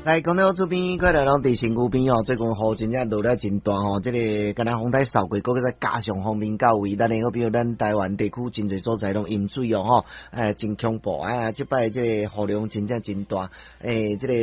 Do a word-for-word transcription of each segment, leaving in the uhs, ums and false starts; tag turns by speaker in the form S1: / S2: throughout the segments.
S1: 來，講到這邊，快來攏佇身軀邊哦。最近雨真正落了真大吼，這個敢若風台掃過，閣再加上鋒面到位，咱的好比咱台灣地區真濟所在攏淹水哦吼，哎，真恐怖啊！這擺這個雨量真正真大，欸，這個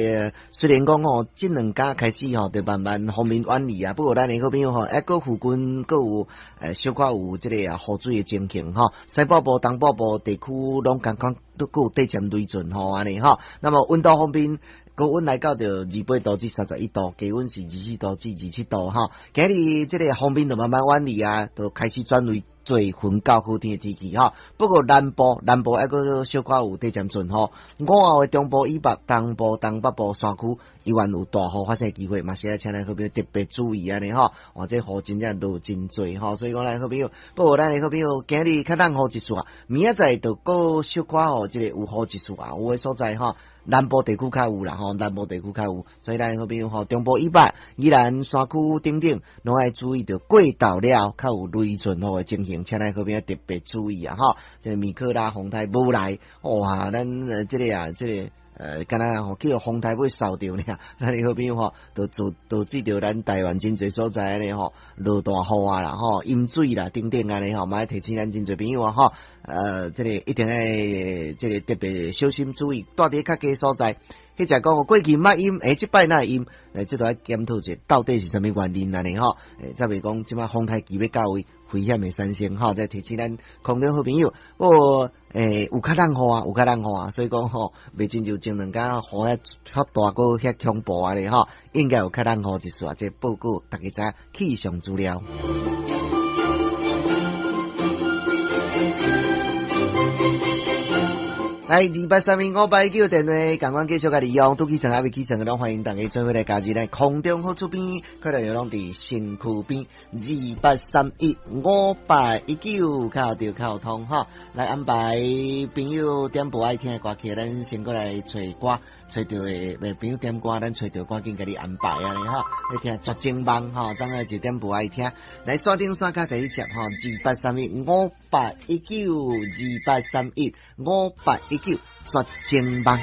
S1: 雖然講吼，這兩工開始吼，就慢慢鋒面遠離啊，不過咱的好朋友吼，抑閣附近閣有欸小可有這個啊雨水的情形吼，西北部、東北部地區攏共款都閣有短暫雷陣雨按呢吼。那麼溫度方面，高溫來到著二八度至三十一度，低溫是二四度至二七度吼。今日這個鋒面就慢慢遠離啊，就開始轉為做雲較好天的天氣吼。不過南部南部抑閣小可有短暫陣雨，午後的中部以北、東部、東北部山區依然有大雨發生的機會，嘛是愛請咱好朋友特別注意按呢吼。哇，這雨真正落真濟吼，所以講咱好朋友，不過咱的好朋友今日較落雨一束啊，明仔載就閣小可吼，這個有雨一束啊，有的所在吼。南部地區較有啦吼，南部地區較有，所以咱好朋友吼，中部以北、宜蘭山區等等，攏愛注意著過晝了，較有雷陣雨的情形，請咱好朋友特別注意啊吼。這個米克拉風台無來，哇，咱這個啊，這個呃，敢若吼去予風台尾掃著爾，咱的好朋友吼，就導導致著咱台灣真濟所在按呢吼，落大雨啊啦吼，淹水啦等等按呢吼，嘛愛提醒咱真濟朋友啊吼，呃，這個一定愛這個特別小心注意，蹛佇較低所在，彼者講過去毋捌淹，欸，這擺哪會淹？欸，這都愛檢討者到底是啥物原因按呢吼？欸，才袂講這擺風台期欲到位，危險會產生吼，再提醒咱空中好朋友，不過欸，有較落雨啊，有較落雨啊，所以講吼，袂親像前兩工雨遐遐大閣遐恐怖按呢吼，應該有較落雨一絲啊，這報告大家知氣象資料。來，二八三一五八一九電話，共款繼續共利用，拄起床猶未起床的，攏歡迎大家做伙來加入來空中好出邊，快樂又攏佇身軀邊，二八三一五八一九，敲著敲通吼，來安排朋友點播愛聽的歌曲，咱先過來揣歌，揣著的朋友點歌，咱揣著趕緊共你安排按呢吼，欲聽絕情夢吼，昨昏就點播愛聽，來線頂線跤共你接吼，二八三一五八一九，二八三一五八一九，絕情夢。